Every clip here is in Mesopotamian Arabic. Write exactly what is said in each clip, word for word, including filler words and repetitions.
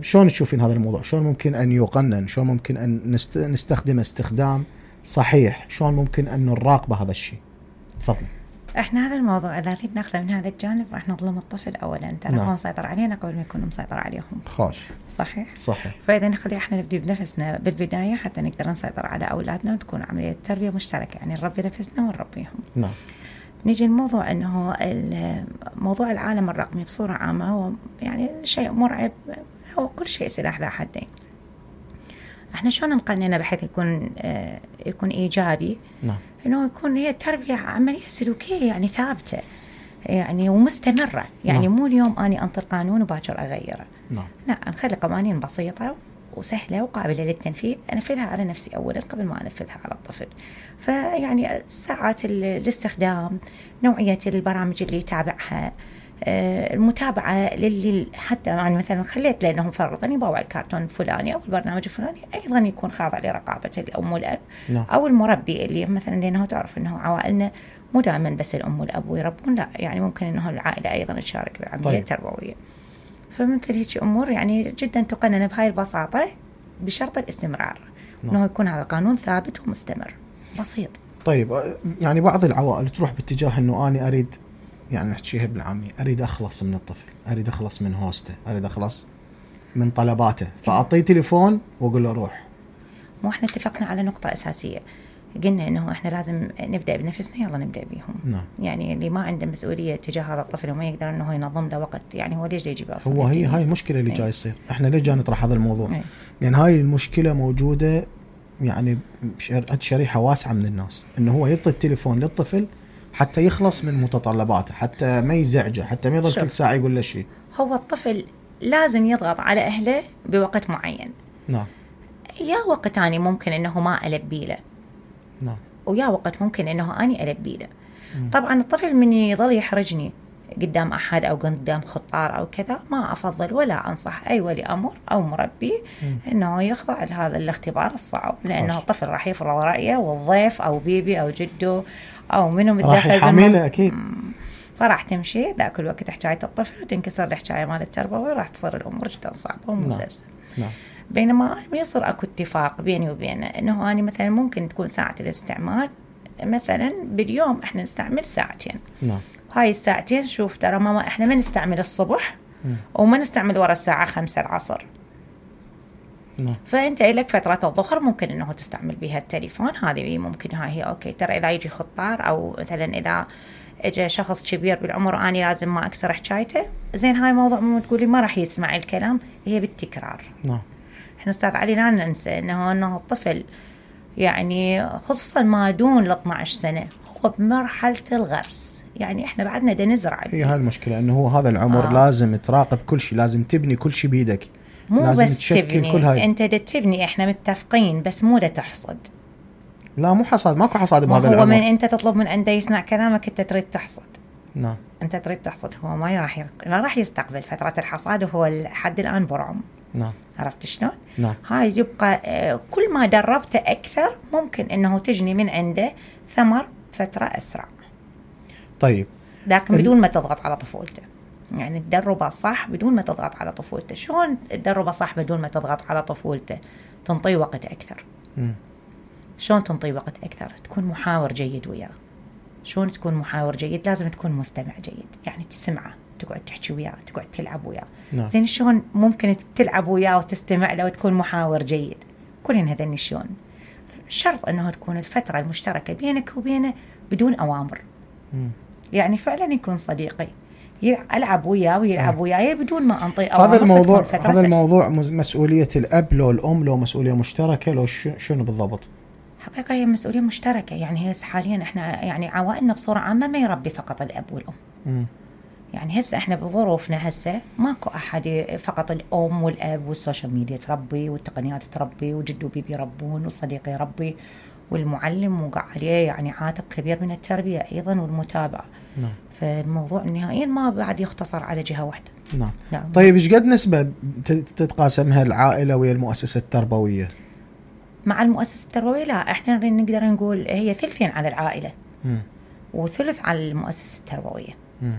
شلون تشوفين هذا الموضوع؟ شلون ممكن أن يقنن؟ شلون ممكن أن نست... نستخدم استخدام صحيح؟ شلون ممكن أن نراقب هذا الشيء؟ تفضل. احنا هذا الموضوع اذا نريد ناخذه من هذا الجانب راح نظلم الطفل اولا، ترى هو مسيطر علينا قبل ما يكون مسيطر عليهم. خاش. صحيح صحيح. فاذا نخلي احنا نبدي بنفسنا بالبدايه حتى نقدر نسيطر على اولادنا وتكون عمليه تربيه مشتركه، يعني نربي نفسنا ونربيهم. نعم. نيجي الموضوع انه موضوع العالم الرقمي بصوره عامه هو يعني شيء مرعب، هو كل شيء سلاح ذا حدين. احنا شلون نقننه بحيث يكون آه يكون ايجابي؟ نعم. انه يكون هي تربيه عمليه سلوكيه يعني ثابته يعني ومستمره، يعني نعم. مو اليوم اني انطر قانون وباكر اغيره. نعم. لا، نخلي قوانين بسيطه وسهله وقابله للتنفيذ، انفذها على نفسي اولا قبل ما انفذها على الطفل. فيعني ساعات الاستخدام، نوعيه البرامج اللي يتابعها، المتابعة للي حتى يعني مثلا خليت لأنهم فرضاً يباوع الكرتون الفلاني أو البرنامج الفلاني أيضاً يكون خاضع لرقابة الأم والأب. لا. أو المربي اللي مثلا لأنه تعرف أنه عوائلنا مو دائما بس الأم والأب ويربون، لا يعني ممكن أنه العائلة أيضاً تشارك بالعملية طيب. التربوية. فمثل هيك أمور يعني جدا تقنن بهاي البساطة بشرط الاستمرار. لا. أنه يكون هذا القانون ثابت ومستمر بسيط. طيب يعني بعض العوائل تروح باتجاه أنه أنا أريد يعني نحكيها بالعامي، أريد أخلص من الطفل، أريد أخلص من هوسته، أريد أخلص من طلباته، فأعطيه تليفون وأقول له روح. مو إحنا اتفقنا على نقطة أساسية، قلنا إنه إحنا لازم نبدأ بنفسنا، يلا نبدأ بيهم. نعم. يعني اللي ما عنده مسؤولية تجاه هذا الطفل وما يقدر إنه ينظم له وقت، يعني هو ليش يجيب أصلا؟ هو هي هاي المشكلة اللي ايه. جاي يصير. إحنا ليش جاي نطرح هذا الموضوع؟ ايه. لأن هاي المشكلة موجودة يعني شريحة واسعة من الناس، إنه هو يعطي التليفون للطفل حتى يخلص من متطلباته، حتى ما يزعجه، حتى ما يضل كل ساعة يقول له شيء. هو الطفل لازم يضغط على أهله بوقت معين. نعم. يا وقت تاني ممكن إنه ما ألبي له. نعم. ويا وقت ممكن إنه أني ألبي له. مم. طبعا الطفل من يظل يحرجني قدام أحد أو قدام خطار أو كذا، ما أفضل ولا أنصح أي ولي أمر أو مربي مم. إنه يخضع لهذا الاختبار الصعب، لأنه عش. الطفل راح يفرض رأيه، والضيف أو بيبي أو جده أو منه متدخل راح يحمله أكيد. فراح تمشي ذاك الوقت حكاية الطفل وتنكسر الحكاية مال التربوي، راح تصير الأمور جدا صعبة ومزلزلة. نعم. بينما يصير أكو اتفاق بيني وبينه إنه أنا مثلا ممكن تكون ساعة الاستعمال مثلا باليوم إحنا نستعمل ساعتين. نعم. هاي الساعتين شوف ترى ماما إحنا ما نستعمل الصبح م. وما نستعمل ورا الساعة خمسة العصر. نعم. فأنت لك فترة الظهر ممكن إنه تستعمل بها التليفون، هذه ممكن هاي هي أوكي. ترى إذا يجي خطار أو مثلا إذا إجا شخص كبير بالعمر وأني لازم ما أكسر حكايته، زين هاي موضوع مو تقولي ما راح يسمع الكلام، هي بالتكرار. نعم. إحنا أستاذ علي لا ننسى إنه إنه الطفل يعني خصوصا ما دون ال اثنتي عشرة سنة هو بمرحلة الغرس، يعني إحنا بعدنا دا نزرع. هي هاي المشكلة إنه هو هذا العمر آه. لازم تراقب كل شيء، لازم تبني كل شيء بيدك، مو لازم بس تشكل تبني. كل هاي. أنت دا تبني، إحنا متفقين، بس مو دا تحصد. لا مو حصاد، ماكو حصاد بهذا العمر. هو من أنت تطلب من عنده يسمع كلامك أنت تريد تحصد. نعم. أنت تريد تحصد، هو ما راح ما راح يستقبل فترة الحصاد، وهو لحد الآن برعم. نعم. عرفت شلون؟ نعم. هاي يبقى كل ما دربته أكثر ممكن إنه تجني من عنده ثمر فترة أسرع. طيب. لكن ال... بدون ما تضغط على طفولته، يعني تدربه صح بدون ما تضغط على طفولته. شلون تدربه صح بدون ما تضغط على طفولته؟ تنطي وقت أكثر. م. شلون تنطي وقت أكثر؟ تكون محاور جيد وياه. شلون تكون محاور جيد؟ لازم تكون مستمع جيد، يعني تسمعه، تقعد تحكي وياه، تقعد تلعب وياه. نعم. زين شلون ممكن تلعب وياه وتستمع له وتكون محاور جيد؟ كلهن هذني شلون؟ شرط أنه تكون الفترة المشتركة بينك وبينه بدون أوامر. م. يعني فعلا يكون صديقي، ألعب وياه ويلعب وياي بدون ما أنطي أوامر. هذا الموضوع هذا الموضوع مسؤولية الأب لو الأم لو مسؤولية مشتركة لو شنو بالضبط؟ حقيقة هي مسؤولية مشتركة. يعني هي حاليا احنا يعني عوائلنا بصورة عامة ما يربي فقط الأب والأم. م. يعني هسه احنا بظروفنا هسه ماكو أحد فقط الأم والأب والسوشيال ميديا تربي والتقنيات تربي وجد وبيبي يربون والصديق يربي والمعلم وقع عليه يعني عاتق كبير من التربية أيضا والمتابعة. نعم. فالموضوع نهائيا ما بعد يختصر على جهة واحدة. نعم. نعم. طيب إيش قد نسبة تتقاسمها العائلة ويا المؤسسة التربوية؟ مع المؤسسة التربوية لا، احنا نقدر نقول هي ثلثين على العائلة م. وثلث على المؤسسة التربوية. م.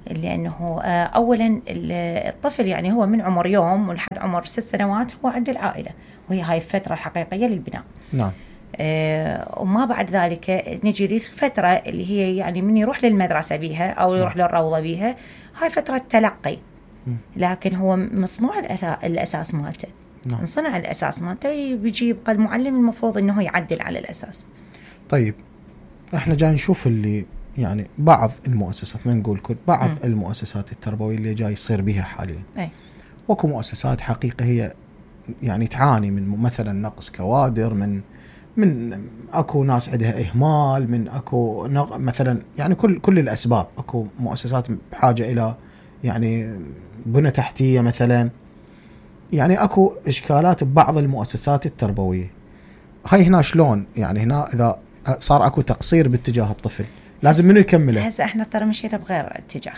لأنه أولا الطفل يعني هو من عمر يوم ولحد عمر ست سنوات هو عند العائلة، وهي هاي الفترة الحقيقية للبناء. نعم. آه وما بعد ذلك نجي للفترة اللي هي يعني من يروح للمدرسة بيها أو يروح نعم. للروضة بيها، هاي فترة تلقي، لكن هو مصنوع الأساس مالته. نعم. نصنع الأساس مالته، بيجي يبقى المعلم المفروض إنه يعدل على الأساس. طيب احنا جاي نشوف اللي يعني بعض المؤسسات، ما نقول كل، بعض م. المؤسسات التربوية اللي جاي يصير بها حاليا. أي. وكو مؤسسات حقيقة هي يعني تعاني من مثلا نقص كوادر، من من اكو ناس عندها اهمال، من اكو مثلا يعني كل كل الاسباب. اكو مؤسسات بحاجة الى يعني بنى تحتية مثلا، يعني اكو اشكالات ببعض المؤسسات التربوية. هاي هنا شلون يعني هنا اذا صار اكو تقصير باتجاه الطفل لازم منو يكمله؟ هسه احنا ترى مشينا بغير اتجاه،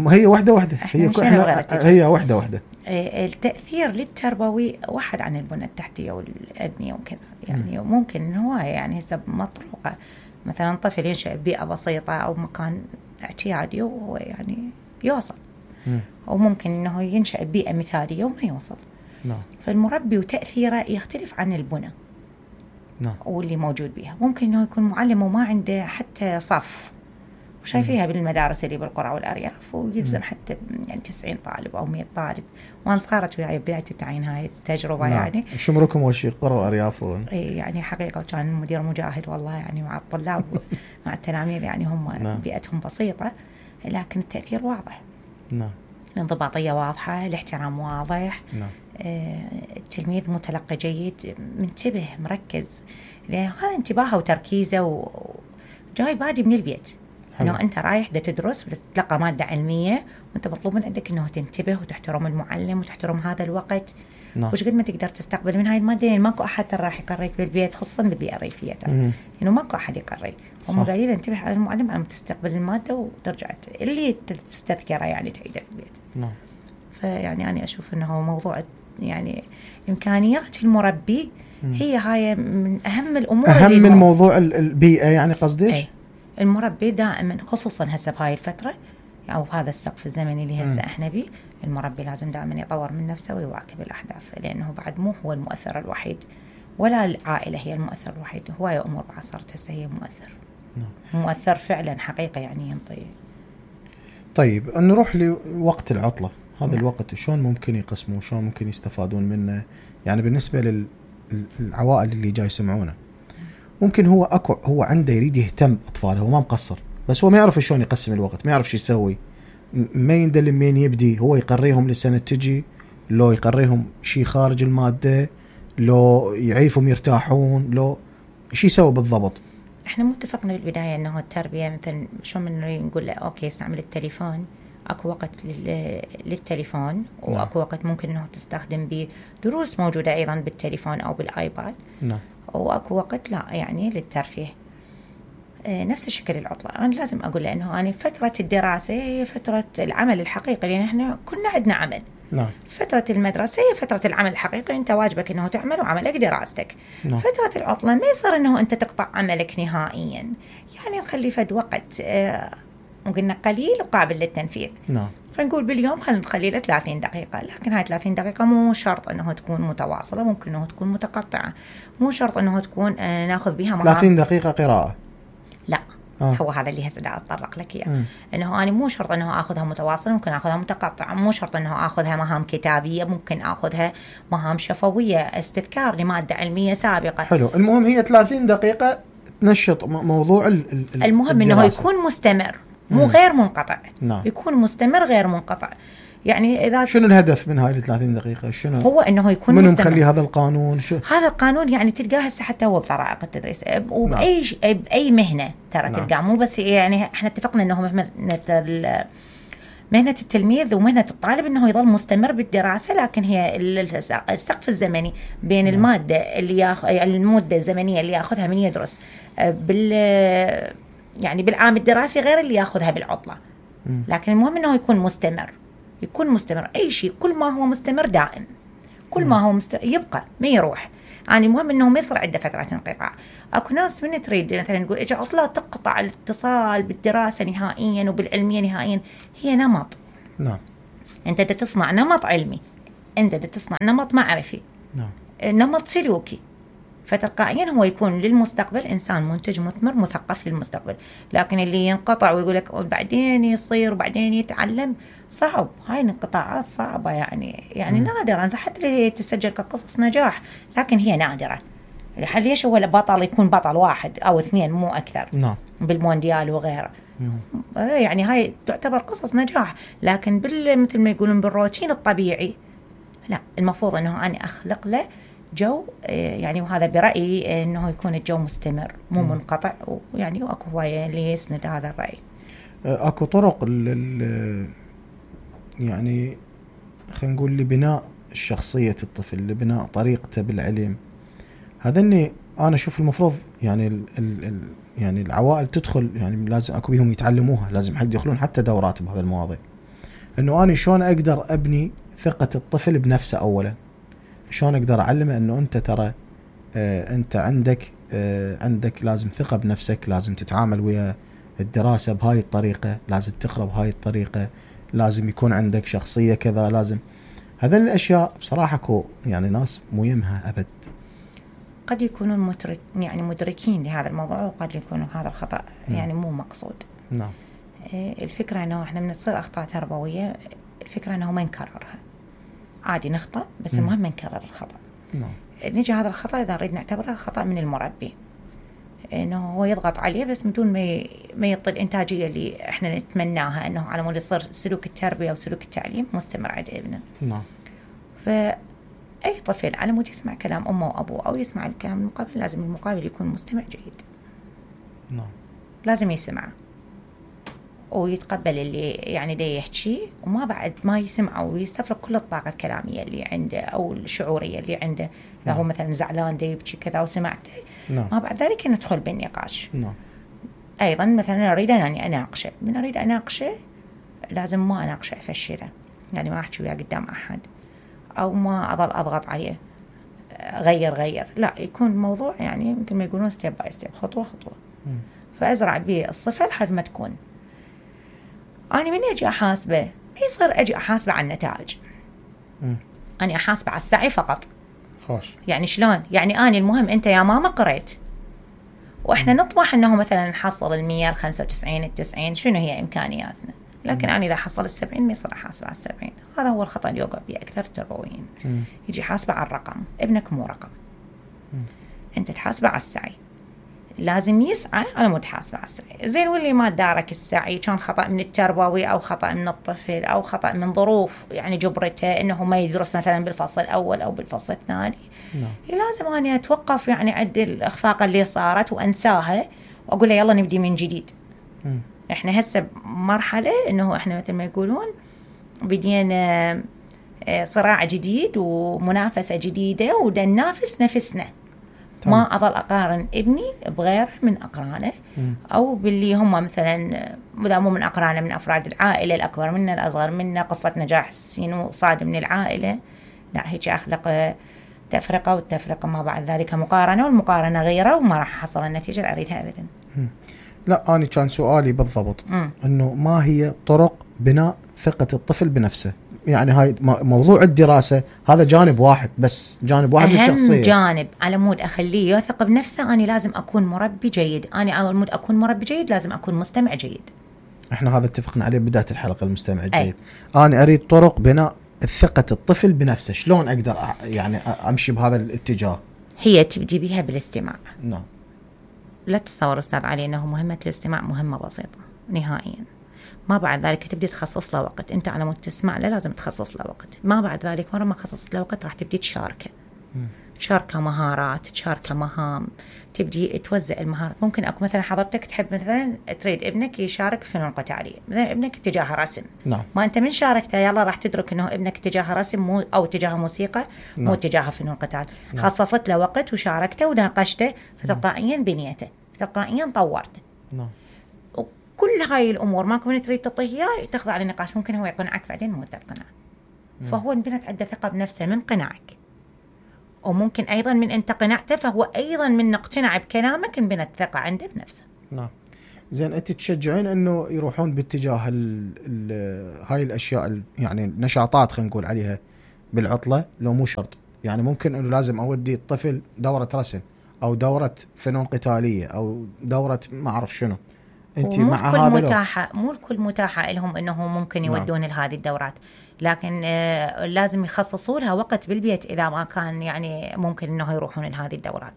هي وحده وحده، هي احنا هي وحده وحده. التاثير للتربوي واحد عن البنى التحتيه والابنيه وكذا، يعني م. ممكن هو يعني هسه مطروقه مثلا طفل ينشأ ببيئه بسيطه او مكان اعتيادي وهو يعني يوصل، م. او ممكن انه ينشأ ببيئه مثاليه وما يوصل. نعم. فالمربي وتاثيره يختلف عن البنى. نعم. واللي موجود بيها ممكن انه يكون معلم وما عنده حتى صف، وشايفيها بالمدارس اللي بالقرى والارياف، ويلزم حتى يعني تسعين طالب او مئة طالب. وانا صارت وياي بدايه التعيين هاي التجربه. نعم. يعني شمركم وشي قرى وارياف و... اي يعني حقيقه، وكان المدير مجاهد والله يعني مع الطلاب مع التلاميذ، يعني هم نعم. بيئتهم بسيطه لكن التاثير واضح. نعم. الانضباطيه واضحه، الاحترام واضح. نعم. التلميذ متلقي جيد، منتبه مركز، لأن هذا انتباهه وتركيزه وجاي بادي من البيت. انه انت رايح دا تدرس وتتلقى ماده علميه، وانت مطلوب من عندك انه تنتبه وتحترم المعلم وتحترم هذا الوقت. نعم. وش قد ما تقدر تستقبل من هاي الماده، يعني ماكو احد راح يقريك بالبيت، خصوصا بالبيئه الريفيه، انه يعني ماكو احد يقري. هم قايلين انتبه على المعلم على ما تستقبل الماده وترجع اللي تستذكره يعني تعيده بالبيت. نعم. فيعني انا اشوف انه موضوع يعني إمكانيات المربي هي هاي من أهم الأمور، أهم من موضوع البيئة يعني قصديش؟ أي. المربي دائما خصوصا هسه بهاي الفترة أو بهذا السقف الزمني اللي هسه احنا بيه، المربي لازم دائما يطور من نفسه ويواكب الأحداث، لأنه بعد مو هو المؤثر الوحيد ولا العائلة هي المؤثر الوحيد، هواية أمور بعد صارت هسه هي مؤثر. نعم. مؤثر فعلا حقيقة يعني ينطي. طيب نروح لوقت العطلة. هذا الوقت شلون ممكن يقسموه، شلون ممكن يستفادون منه؟ يعني بالنسبة للعوائل اللي جاي يسمعونه، ممكن هو أكو هو عنده يريد يهتم بأطفاله، هو ما مقصر، بس هو ما يعرف شلون يقسم الوقت، ما يعرف شو يسوي، ما يندل مين يبدي. هو يقريهم لسنة تجي، لو يقريهم شيء خارج المادة، لو يعيفهم يرتاحون، لو شو يسوي بالضبط؟ احنا متفقنا بالبداية انه التربية مثلا شو من نقول له اوكي استعمل التليفون، اكو وقت للتليفون، واكو نعم. وقت ممكن انه تستخدم به دروس موجودة ايضا بالتليفون او بالايباد. نعم. واكو وقت لا يعني للترفيه. آه نفس الشكل العطلة، انا لازم اقول له انه انا فترة الدراسة هي فترة العمل الحقيقي، لان احنا كنا عندنا عمل. نعم. فترة المدرسة هي فترة العمل الحقيقي، انت واجبك انه تعمل وعملك دراستك. نعم. فترة العطلة ما يصير انه انت تقطع عملك نهائيا، يعني نخلي فد وقت آه وقلنا قليل وقابل للتنفيذ. نعم. فنقول باليوم خلينا نخلي له ثلاثين دقيقة، لكن هاي ثلاثين دقيقة مو شرط انه تكون متواصلة، ممكن انه تكون متقطعة، مو شرط انه تكون آه ناخذ بها مهام. ثلاثين دقيقة قراءة؟ لا. آه. هو هذا اللي هسه أتطرق لك إياه، إنه أنا مو شرط إنه آخذها متواصلة، ممكن آخذها متقطعة، مو شرط إنه آخذها مهام كتابية، ممكن آخذها مهام شفوية، استذكار لمادة علمية سابقة. حلو. المهم هي ثلاثين دقيقة تنشط موضوع ال ال المهم الدراسة. إنه يكون مستمر، مو مم. غير منقطع. نعم. يكون مستمر غير منقطع. يعني إذا شنو الهدف من هاي الثلاثين دقيقة؟ شنو هو إنه يكون منو مخلي هذا القانون؟ شو هذا القانون؟ يعني تلقاه هسه حتى هو بطرائق التدريس وبأي نعم. بأي مهنة ترى نعم. تلقاه، مو بس يعني إحنا اتفقنا إنه مهنة مهنة التلميذ ومهنة الطالب إنه يظل مستمر بالدراسة، لكن هي السقف الزمني بين نعم. المادة اللي ياخ المدة الزمنية اللي يأخذها من يدرس بال يعني بالعام الدراسي غير اللي يأخذها بالعطلة. م. لكن المهم إنه يكون مستمر، يكون مستمر. أي شيء كل ما هو مستمر دائم كل ما هو مست... يبقى ما يروح. يعني المهم انه ما يصير عنده فترات انقطاع. اكو ناس من تريد مثلا نقول اجى عطله تقطع الاتصال بالدراسه نهائيا وبالعلميه نهائيا. هي نمط. نعم. انت بدك تصنع نمط علمي، انت بدك تصنع نمط معرفي، نعم. نمط سلوكي، فتلقائيا هو يكون للمستقبل انسان منتج مثمر مثقف للمستقبل. لكن اللي ينقطع ويقول لك بعدين يصير وبعدين يتعلم، صعب. هاي الانقطاعات صعبه يعني يعني م. نادره، حتى اللي تسجل كقصص نجاح لكن هي نادره. ليش هو البطل يكون بطل واحد او اثنين مو اكثر؟ نعم. بالمونديال وغيره. يعني هاي تعتبر قصص نجاح، لكن بال مثل ما يقولون بالروتين الطبيعي لا، المفروض انه انا اخلق له جو، يعني وهذا برأيي انه يكون الجو مستمر مو منقطع. ويعني واكو هوايه اللي يسند هذا الرأي. اكو طرق ال يعني خلينا نقول لبناء شخصية الطفل، لبناء طريقته بالعلم. هذا اني انا اشوف المفروض يعني ال ال يعني العوائل تدخل، يعني لازم اكو بيهم يتعلموها، لازم حد يدخلون حتى دورات بهذا المواضيع، انه انا شلون اقدر ابني ثقة الطفل بنفسه اولا. شلون اقدر اعلمه انه انت ترى آه انت عندك آه عندك لازم ثقة بنفسك، لازم تتعامل ويا الدراسة بهاي الطريقة، لازم تقرأ بهاي الطريقة، لازم يكون عندك شخصية كذا، لازم هذه الاشياء بصراحة كو يعني ناس مو يمها ابد. قد يكونون مدرك يعني مدركين لهذا الموضوع، وقد يكونوا هذا الخطأ يعني مو مقصود. نعم. الفكرة انه احنا من تصير اخطاء تربوية، الفكرة انه ما نكررها، عادي نخطأ بس المهم ما نكرر الخطأ. نعم. نجي هذا الخطأ اذا نريد نعتبره خطأ من المربي، انه هو يضغط عليه بس بدون ما ما يعطي الانتاجية اللي احنا نتمناها، انه على مود يصير سلوك التربية وسلوك التعليم مستمر عند ابنه. نعم. ف أي طفل على مود يسمع كلام أمه وأبوه أو يسمع الكلام المقابل، لازم المقابل يكون مستمع جيد. نعم. لازم يسمع ويتقبل اللي يعني ده يحكي، وما بعد ما يسمع ويستفرغ كل الطاقة الكلامية اللي عنده أو الشعورية اللي عنده. إذا هو مثلا زعلان ده يبكي كذا وسمعته، نعم. ما بعد ذلك ندخل بالنقاش. نعم. أيضا مثلا أريد أني أناقشه، من أريد أناقشه لازم ما أناقشه أفشله، يعني ما أحكي وياه قدام أحد أو ما أظل أضغط عليه غير غير لا، يكون موضوع يعني مثل ما يقولون ستيب باي ستيب، خطوة خطوة. م. فأزرع به الصفة لحد ما تكون. أنا من أجي أحاسبه ما يصير أجي أحاسبه على النتائج، م. أنا أحاسبه على السعي فقط. خوش. يعني شلون؟ يعني أنا المهم أنت يا ماما قريت، وإحنا م. نطمح أنه مثلا نحصل المية الخمسة وتسعين التسعين، شنو هي إمكانياتنا؟ لكن أنا إذا حصل السبعين ما يصير أحاسب على السبعين. هذا هو الخطأ اللي يوقع به أكثر التربويين. يجي حاسبة على الرقم، ابنك مو رقم. م. أنت تحاسبه على السعي، لازم يسعى على مود حاسبة على السعي. زين واللي ما دارك السعي كان خطأ من التربوي أو خطأ من الطفل أو خطأ من ظروف يعني جبرته إنه ما يدرس مثلا بالفصل الأول أو بالفصل الثاني. نعم. لازم أنا أتوقف يعني عد الأخفاق اللي صارت وأنساها وأقول له يلا نبدي من جديد. م. إحنا هسه بمرحلة إنه إحنا مثل ما يقولون بدينا صراع جديد ومنافسة جديدة ودا ننافس نفسنا. طبعا. ما أظل أقارن ابني بغيره من أقرانه م. أو باللي هم مثلا إذا مو من أقرانه من أفراد العائلة الأكبر منا الأصغر منا، قصة نجاح سينو صاد من العائلة. لا، هيك أخلق تفرقة، والتفرقة ما بعد ذلك مقارنة، والمقارنة غيرة، وما راح أحصل النتيجة اللي أريدها أبدا. م. لا، أنا كان سؤالي بالضبط م. أنه ما هي طرق بناء ثقة الطفل بنفسه؟ يعني هاي موضوع الدراسة هذا جانب واحد بس، جانب واحد من الشخصية. أهم جانب على مود أخليه يثق بنفسه، أنا لازم أكون مربي جيد. أنا على مود أكون مربي جيد لازم أكون مستمع جيد. إحنا هذا اتفقنا عليه بداية الحلقة، المستمع الجيد. أي. أنا أريد طرق بناء ثقة الطفل بنفسه، شلون أقدر يعني أمشي بهذا الاتجاه؟ هي تبدي بها بالاستماع. نعم. لا تتصور أستاذ علي أنه مهمة الاستماع مهمة بسيطة نهائيا. ما بعد ذلك تبدي تخصص له وقت. أنت على مود تسمع له لازم تخصص له وقت. ما بعد ذلك مرة ما خصصت له وقت راح تبدي تشاركه، تشاركه مهارات، تشاركه مهام، تبدي توزع المهارات. ممكن أكو مثلا حضرتك تحب مثلا تريد ابنك يشارك في فنون قتالية، مثلا ابنك اتجاه رسم. نعم. ما أنت من شاركته يلا راح تدرك إنه ابنك اتجاه رسم مو أو اتجاه موسيقى. نعم. مو اتجاه فنون قتال. نعم. خصصت له وقت وشاركته وناقشته، فتلقائيا بنيته، فتلقائيا طورته. نعم. كل هاي الأمور ما كنت تريد تعطيه تخضع للنقاش، ممكن هو يقنعك بعدين مو تقنع. فهو انبنت عنده ثقة بنفسه من قناعك. وممكن أيضا من أنت قنعته فهو أيضا من اقتنع بكلامك انبنت ثقة عنده بنفسه. نعم. زين أنت تشجعين إنه يروحون باتجاه ال ال هاي الأشياء يعني النشاطات خلينا نقول عليها بالعطلة، لو مو شرط يعني ممكن إنه لازم أودي الطفل دورة رسم أو دورة فنون قتالية أو دورة ما أعرف شنو، أنت مع هذا؟ متاحة مو الكل متاحة لهم إنه ممكن يودون نعم. لهذه الدورات، لكن آه لازم يخصصوا لها وقت بالبيت إذا ما كان يعني ممكن إنه يروحون لهذه الدورات.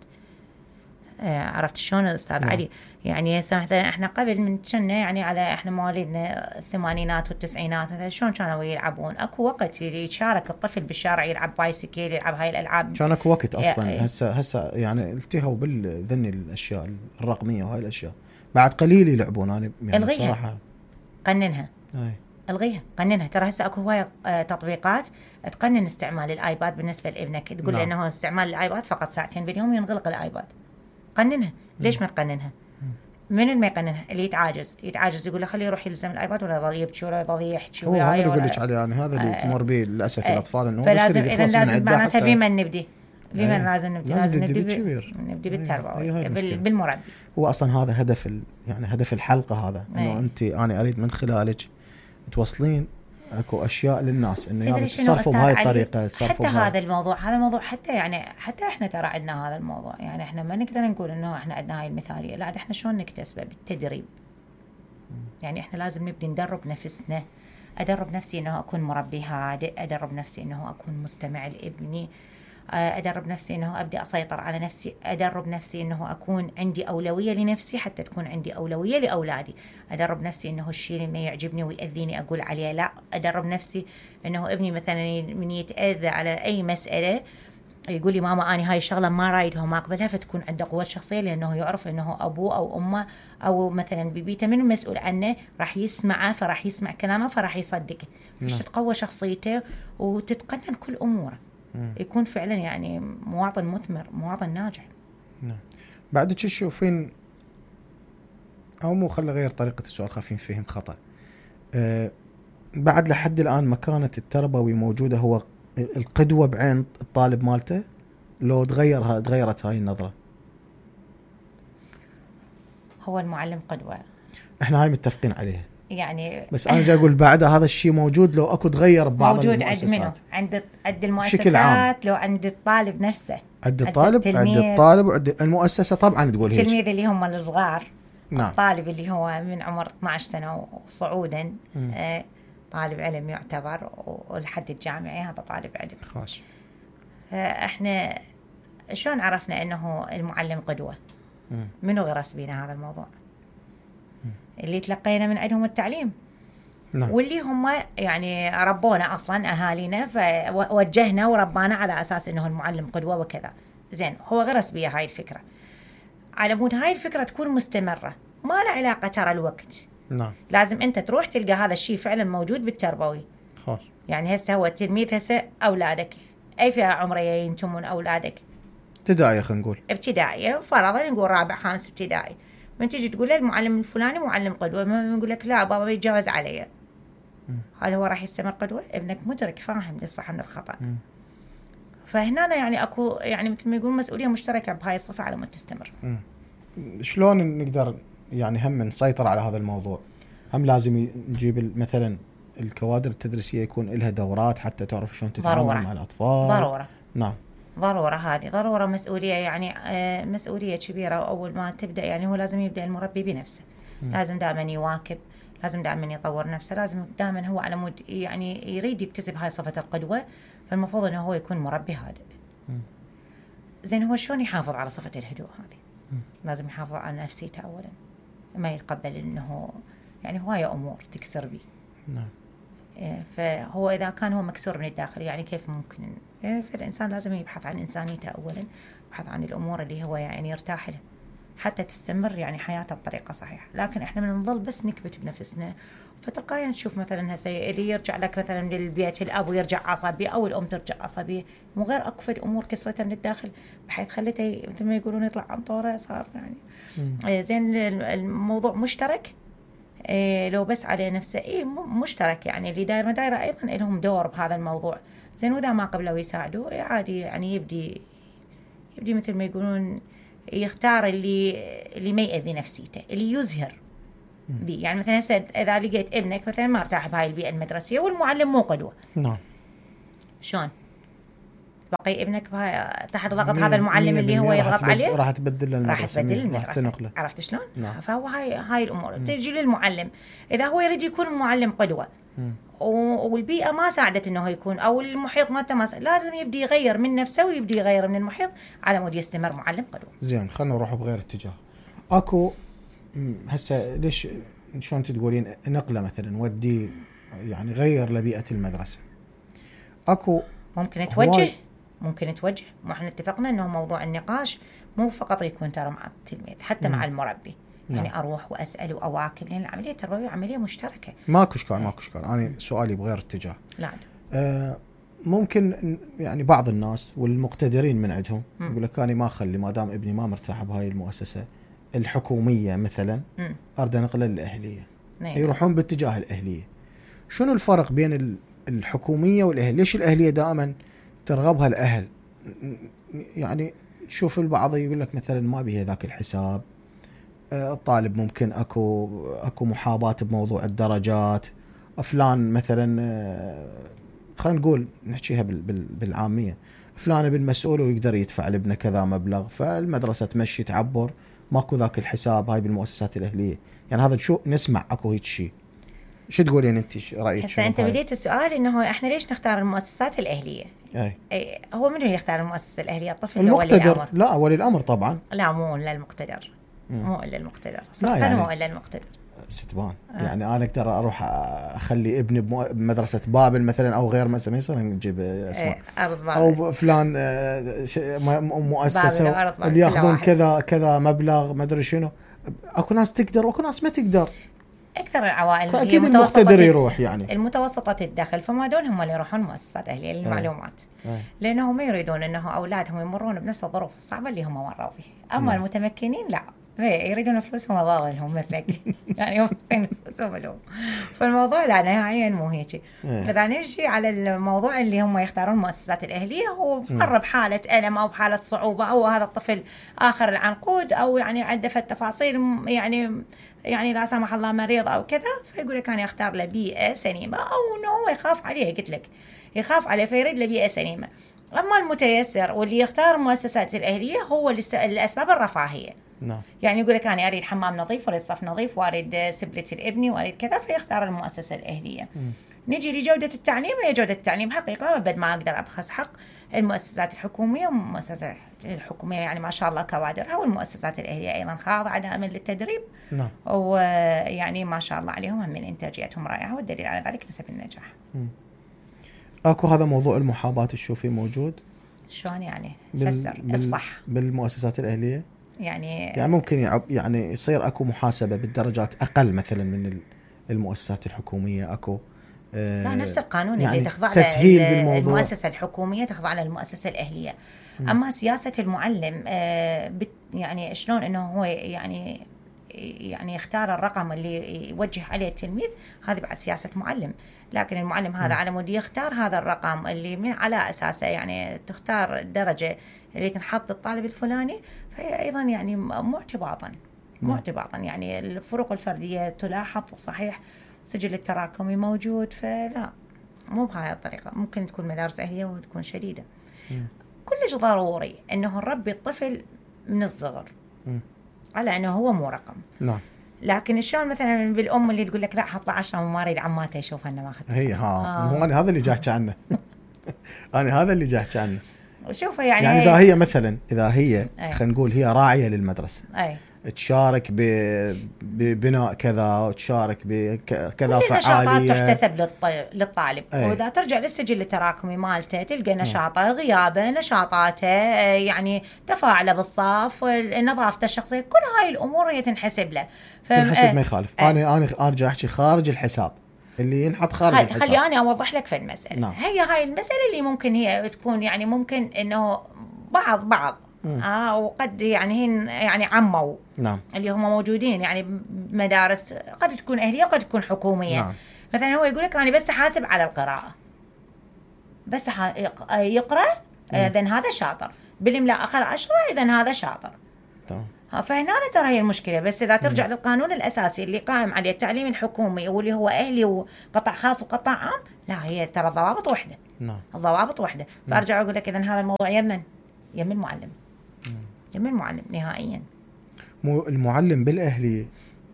آه عرفت شلون أستاذ نعم. علي؟ يعني مثلا إحنا قبل من كنا يعني على إحنا مواليدنا الثمانينات والتسعينات مثلا شلون كانوا يلعبون؟ أكو وقت يشارك الطفل بالشارع يلعب بايسكل يلعب هاي الألعاب، كان أكو وقت أصلا. هسه هسه يعني التهوا بالذني الأشياء الرقمية وهاي الأشياء بعد قليل يلعبون. أنا يعني بصراحة قننها أي. الغيها قننها. ترى هسه اكو هوايه تطبيقات تقنن استعمال الايباد بالنسبه لابنك، تقول له انه استعمال الايباد فقط ساعتين باليوم ينغلق الايباد. قننها. ليش ما تقننها؟ من ما يقننها اللي يتعاجز يتعاجز يقول له خليه يروح يلزم الايباد ولا يظل يبكي ولا يظل يحكي. هو هذا اللي يقول لك عليه يعني هذا اللي تمر به للاسف آه الاطفال انه فلازم اذا لازم معناتها بمن نبدي بمن أيه. لازم نبدي لازم نبدي بالكبير، نبدي بالتربوي بالمربي. هو اصلا هذا هدف ال... يعني هدف الحلقه هذا انه أيه. انت انا اريد من خلالك توصلين اكو اشياء للناس انه يعني تصرفوا بهاي الطريقه. حتى هذا الموضوع هذا الموضوع حتى يعني حتى احنا ترى عندنا هذا الموضوع، يعني احنا ما نقدر نقول انه احنا عندنا هاي المثاليه، لا احنا شلون نكتسبه بالتدريب. يعني احنا لازم نبدي ندرب نفسنا. ادرب نفسي انه اكون مربي هادئ، ادرب نفسي انه اكون مستمع لابني، ادرب نفسي انه ابدا اسيطر على نفسي، ادرب نفسي انه اكون عندي اولويه لنفسي حتى تكون عندي اولويه لاولادي، ادرب نفسي انه الشيء اللي ما يعجبني ويأذيني اقول عليه لا، ادرب نفسي انه ابني مثلا من يتاذى على اي مساله يقول لي ماما أنا هاي الشغلة ما رايدها وما أقبلها، فتكون عنده قوة شخصية لأنه يعرف أنه أبوه أو أمه أو مثلا ببيته من المسؤول عنه راح يسمعه، فراح يسمع كلامه فراح يصدقه، مش تتقوى شخصيته وتتقنن كل أموره، يكون فعلا يعني مواطن مثمر، مواطن ناجح. نعم. بعد شو تشوفين أو مو خلي غير طريقة السؤال خافين فهم خطأ. أه بعد لحد الآن مكانة التربوي موجودة، هو القدوة بعين الطالب مالته، لو تغيرها تغيرت هاي النظرة؟ هو المعلم قدوة، احنا هاي متفقين عليها يعني بس انا جاي اقول بعدها هذا الشيء موجود لو اكو تغير ببعض موجود المؤسسات. عند منو؟ عند عند المؤسسات، لو عند الطالب نفسه، عند الطالب عند الطالب وعند المؤسسة طبعا تقول هيك. التلميذ اللي هم الصغار، نعم. الطالب اللي هو من عمر اثناشر سنة وصعودا آه طالب علم يعتبر، والحد الجامعي هذا طالب علم. خاص. فاحنا شلون عرفنا انه المعلم قدوة؟ مم. منو غرس بينا هذا الموضوع؟ مم. اللي تلقينا من عندهم التعليم. نعم. واللي هم يعني ربونا اصلا اهالينا، فوجهنا وربانا على اساس انه المعلم قدوة وكذا. زين هو غرس بيا هاي الفكرة، على مود هاي الفكرة تكون مستمرة، ما له علاقة ترى الوقت. نعم. لازم انت تروح تلقى هذا الشيء فعلا موجود بالتربوي. خاص. يعني هسه هو التلميذ هسه اولادك اي فئة عمرية ينتمون اولادك؟ ابتدائية خلينا نقول. ابتدائية فرضا نقول رابع خامس ابتدائي، من تيجي تقول له المعلم الفلاني معلم قدوة، ما يقول لك لا بابا يتجاوز علي. هل هو راح يستمر قدوة؟ ابنك مدرك فاهم للصح من الخطأ. م. فهنا يعني اكو يعني مثل ما يقول مسؤولية مشتركة بهاي الصفة على مود تستمر. م. شلون نقدر يعني هم نسيطر على هذا الموضوع؟ هم لازم نجيب مثلا الكوادر التدريسية يكون لها دورات حتى تعرف شلون تتعامل مع الأطفال. ضرورة. نعم. ضرورة، هذه ضرورة، مسؤولية يعني آه مسؤولية كبيرة. وأول ما تبدأ يعني هو لازم يبدأ المربي بنفسه. م. لازم دائما يواكب، لازم دائما يطور نفسه، لازم دائما هو على مود يعني يريد يكتسب هاي صفة القدوة، فالمفروض أنه هو يكون مربي هادئ. زين هو شلون يحافظ على صفة الهدوء هذه؟ م. لازم يحافظ على نفسيته أولا، ما يتقبل أنه يعني هواية أمور تكسر بيه. نعم. فهو إذا كان هو مكسور من الداخل يعني كيف ممكن؟ يعني فالإنسان لازم يبحث عن إنسانيته أولا، يبحث عن الأمور اللي هو يعني يرتاح لها حتى تستمر يعني حياته بطريقة صحيحة. لكن إحنا من نظل بس نكبت بنفسنا، فتلقائيا تشوف مثلا هسه اللي يرجع لك مثلا للبيت الأب ويرجع عصبي أو الأم ترجع عصبية، مو غير أكفد أمور كسرتها من الداخل بحيث خلته مثل ما يقولون يطلع عن طوره صار يعني. م. زين الموضوع مشترك إيه لو بس على نفسه إيه مشترك، يعني اللي داير دايرة أيضا لهم دور بهذا الموضوع. زين وإذا ما قبلوا يساعدوا إيه عادي يعني يبدي يبدي مثل ما يقولون يختار اللي اللي ما يأذي نفسيته، اللي يزهر بي. يعني مثلا هسه اذا لقيت ابنك مثلا ما ارتاح بهاي البيئه المدرسيه والمعلم مو قدوه، نعم، شلون بقي ابنك تحت ضغط هذا المعلم اللي هو يضغط عليه؟ راح تبدل له راح تبدل المدرسه، عرفت شلون؟ نعم. فهو هاي هاي الامور تجي للمعلم، اذا هو يريد يكون المعلم قدوه م. والبيئه ما ساعدت انه يكون، او المحيط ما تماس، لازم يبدي يغير من نفسه ويبدي يغير من المحيط على مود يستمر معلم قدوه. زين، خلينا نروح بغير اتجاه. اكو هسه ليش شلون تقولين نقله مثلا ودي يعني غير لبيئه المدرسه، اكو ممكن توجه ممكن توجه ما احنا اتفقنا انه موضوع النقاش مو فقط يكون ترى مع التلميذ، حتى م. مع المربي. يعني نعم. اروح واسال واواكب، لان العمليه التربويه عمليه مشتركه. ماكو اشكال ماكو اشكال انا سؤالي بغير اتجاه. لا آه ممكن يعني بعض الناس والمقتدرين من عندهم يقول لك انا ما اخلي ما دام ابني ما مرتاح بهاي المؤسسه الحكوميه مثلا م. اريد انقله للاهليه. نعم. يروحون باتجاه الاهليه. شنو الفرق بين الحكوميه والاهليه؟ ليش الاهليه دائما ترغبها الاهل؟ يعني تشوف البعض يقول لك مثلا ما بيها ذاك الحساب، الطالب ممكن اكو اكو محاباه بموضوع الدرجات، فلان مثلا خلينا نقول نحكيها بالعاميه، فلان ابن مسؤول ويقدر يدفع لابنه كذا مبلغ، فالمدرسه تمشي تعبر، ماكو ذاك الحساب. هاي بالمؤسسات الاهليه يعني هذا شو نسمع اكو هيك شيء. شو تقولين انت رايك؟ هسه انت بديت السؤال انه احنا ليش نختار المؤسسات الاهليه؟ اي, أي هو من اللي يختار المؤسسه الاهليه؟ الطفل المقتدر؟ ولا الامر؟ لا ولي الامر طبعا. لا مو الا المقتدر، مو الا المقتدر، لا يعني مو الا المقتدر ستبان. آه. يعني انا اقدر اروح اخلي ابني بمدرسه بابل مثلا او غير مثلا، يصير نجيب اسماء او فلان مؤسسه اللي ياخذون كذا كذا مبلغ ما ادري شنو. اكو ناس تقدر واكو ناس ما تقدر. اكثر العوائل فاكيد المقتدر يروح يعني المتوسطه الدخل، فما دول هم اللي يروحون مؤسسات اهليه للمعلومات. أي. لانهم ما يريدون انه اولادهم يمرون بنفس الظروف الصعبه اللي هم مروا فيها. اما م. المتمكنين لا، يريدون فلوسهم وظاهرهم مثلك يعني يوفقون فلوسهم لهم. فالموضوع لا نهائيا مو هيك. اذا نمشي على الموضوع اللي هم يختارون المؤسسات الاهليه، هو مر بحاله الم او بحاله صعوبه، او هذا الطفل اخر العنقود، او يعني عنده التفاصيل يعني يعني لا سمح الله مريض او كذا، فيقول لك انا اختار له بيئه سليمه، او انه هو يخاف عليه. قلت لك يخاف عليه فيريد له بيئه سليمه. اما المتيسر واللي يختار المؤسسات الاهليه هو الاسباب الرفاهيه. نعم. يعني يقول لك انا اريد حمام نظيف واريد صف نظيف واريد سبلتي لابني واريد كذا، فيختار المؤسسه الاهليه. م. نجي لجوده التعليم. هي جوده التعليم حقيقه بدل ما اقدر ابخس حق المؤسسات الحكوميه والمؤسسات الحكوميه يعني ما شاء الله كوادرها، والمؤسسات الاهليه ايضا خاضعه دائما للتدريب. نعم. ويعني ما شاء الله عليهم من انتاجيتهم رائعه، والدليل على ذلك نسب النجاح. م. اكو هذا موضوع المحاباه تشوفيه موجود؟ شلون يعني؟ فسر افصح. بالمؤسسات الاهليه يعني يعني ممكن يعب يعني يصير اكو محاسبه بالدرجات اقل مثلا من المؤسسات الحكوميه. اكو آه لا نفس القانون يعني اللي تخضع للمؤسسه الحكوميه تخضع للمؤسسه الاهليه. م. اما سياسه المعلم آه يعني شلون انه هو يعني يعني يختار الرقم اللي يوجه عليه التلميذ، هذه بعد سياسه معلم. لكن المعلم هذا م. على مود يختار هذا الرقم اللي من على اساسه يعني تختار الدرجه اللي تنحط للطالب الفلاني، فهي ايضا يعني مو اعتباطا مو اعتباطا يعني الفروق الفرديه تلاحظ صحيح، سجل التراكمي موجود، فلا مو بهاي الطريقه. ممكن تكون مدارس اهليه وتكون شديده. م. كلش ضروري انه نربي الطفل من الصغر م. على انه هو مو رقم. نعم. لكن شلون مثلا بالام اللي تقول لك لا حط له عشرة وما اريد عماته يشوف انه ما اخذت. هي ها آه. هو انا هذا اللي جاحكي عنه. انا هذا اللي جاحكي عنه. شوفه يعني يعني اذا هي مثلا اذا هي خلينا نقول هي راعيه للمدرسه، اي تشارك ببناء كذا وتشارك بكذا فعاليه، نشاطات تحتسب للطالب. أي. واذا ترجع للسجل التراكمي مالته تلقى نشاطه، غيابه، نشاطاته، يعني تفاعله بالصف، نظافته الشخصيه، كل هاي الامور هي تنحسب له. تنحسب ما يخالف. انا انا ارجع احكي خارج الحساب اللي ينحط خارج خل... الحساب. خلي انا اوضح لك في المساله. نعم. هي هاي المساله اللي ممكن هي تكون يعني ممكن انه بعض بعض اه وقد يعني هن يعني عموا. نعم. اللي هم موجودين يعني بمدارس قد تكون اهليه وقد تكون حكوميه. نعم. مثلا هو يقول لك انا بس حاسب على القراءه، بس يقرا اذا هذا شاطر، بالاملاء اخذ عشرة، اذا هذا شاطر. تمام. فهنا ترى هي المشكله. بس اذا ترجع م. للقانون الاساسي اللي قائم عليه التعليم الحكومي واللي هو اهلي وقطاع خاص وقطاع عام، لا هي ترى ضوابط وحده. نعم. الضوابط وحده. فارجع اقول لك اذا هذا الموضوع يمن يمن المعلم. يمن المعلم نهائيا. مو المعلم بالاهلي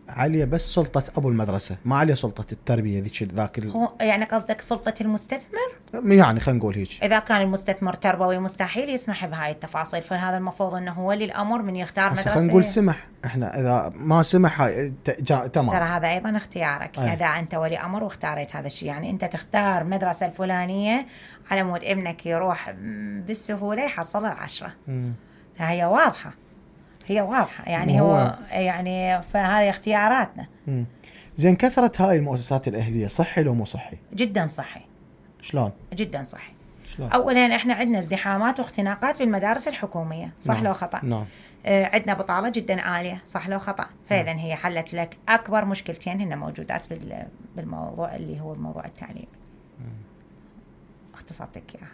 عليه بس سلطة أبو المدرسة، ما عليه سلطة التربية ذيك ذاك ال... هو يعني قصدك سلطة المستثمر؟ يعني خلينا نقول هيك. إذا كان المستثمر تربوي مستحيل يسمح بهاي التفاصيل، فهذا المفروض أنه هو ولي الأمر من يختار مدرسة. خلينا نقول سمح، إحنا إذا ما سمح تمام. ترى هذا أيضا اختيارك. أيه. إذا أنت ولي أمر واختاريت هذا الشيء، يعني أنت تختار مدرسة الفلانية على مود ابنك يروح بالسهولة يحصل العشرة. م. هي واضحة، هي واضحة يعني هو, هو يعني فهذه اختياراتنا. مم. زين كثرة هاي المؤسسات الأهلية صحي لو مو صحي؟ جدا صحي. شلون؟ جدا صحي. شلون؟ أولا احنا عندنا ازدحامات واختناقات في المدارس الحكومية، صح نعم. لو خطأ؟ نعم. آه عندنا بطالة جدا عالية، صح لو خطأ؟ فإذا هي حلت لك أكبر مشكلتين هن موجودات بالموضوع اللي هو الموضوع التعليم. اختصرتك إياها،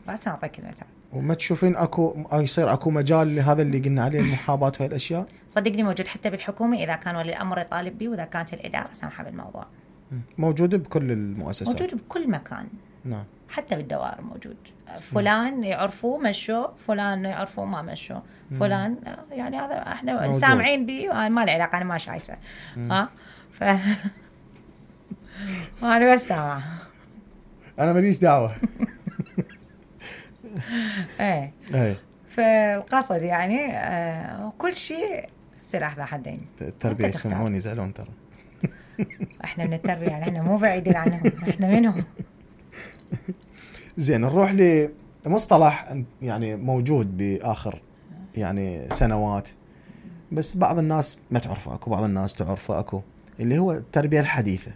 بس أعطيك المثال. وما تشوفين اكو يصير اكو مجال لهذا اللي قلنا عليه المحاباه وهي الاشياء؟ صدقني موجود حتى بالحكومه، اذا كان ولي الامر يطالب به واذا كانت الاداره سامحه بالموضوع. موجود بكل المؤسسات، موجود بكل مكان. نعم. حتى بالدوائر موجود. فلان يعرفوه مشوا، فلان يعرفوه ما مشوا، فلان يعني هذا احنا سامعين به، ما له علاقه، انا ما شايفه. ها ف انا بس سامعه، انا ماليش دعوه. ايه ايه. فالقصد يعني آه كل شيء سلاح ذا حدين. التربيه يسمعون يزعلون ترى. احنا من التربيه يعني احنا مو بعيدين عنهم، احنا منهم. زين نروح لمصطلح يعني موجود باخر يعني سنوات، بس بعض الناس ما تعرفه، اكو بعض الناس تعرفه اكو، اللي هو التربيه الحديثه.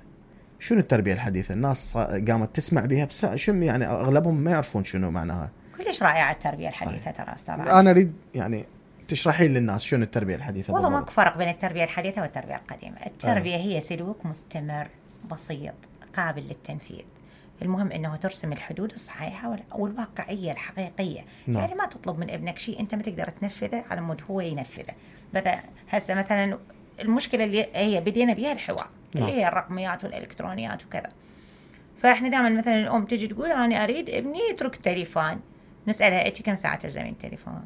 شنو التربيه الحديثه؟ الناس قامت تسمع بها بس شنو يعني اغلبهم ما يعرفون شنو معناها. كلش رائعه التربيه الحديثه ترى استاذ. انا اريد يعني تشرحين للناس شنو التربيه الحديثه. والله ماكو فرق بين التربيه الحديثه والتربيه القديمه. التربيه آه. هي سلوك مستمر بسيط قابل للتنفيذ. المهم انه ترسم الحدود الصحيحه والواقعيه الحقيقيه. نعم. يعني ما تطلب من ابنك شيء انت ما تقدر تنفذه على مود هو ينفذه. بدأ هسه مثلا المشكله اللي هي بدينا بها الحوار. نعم. اللي هي الرقميات والالكترونيات وكذا. فاحنا دائما مثلا الام تجي تقول انا اريد ابني يترك التليفون، نسالها انت كم ساعه تلزمين التليفون؟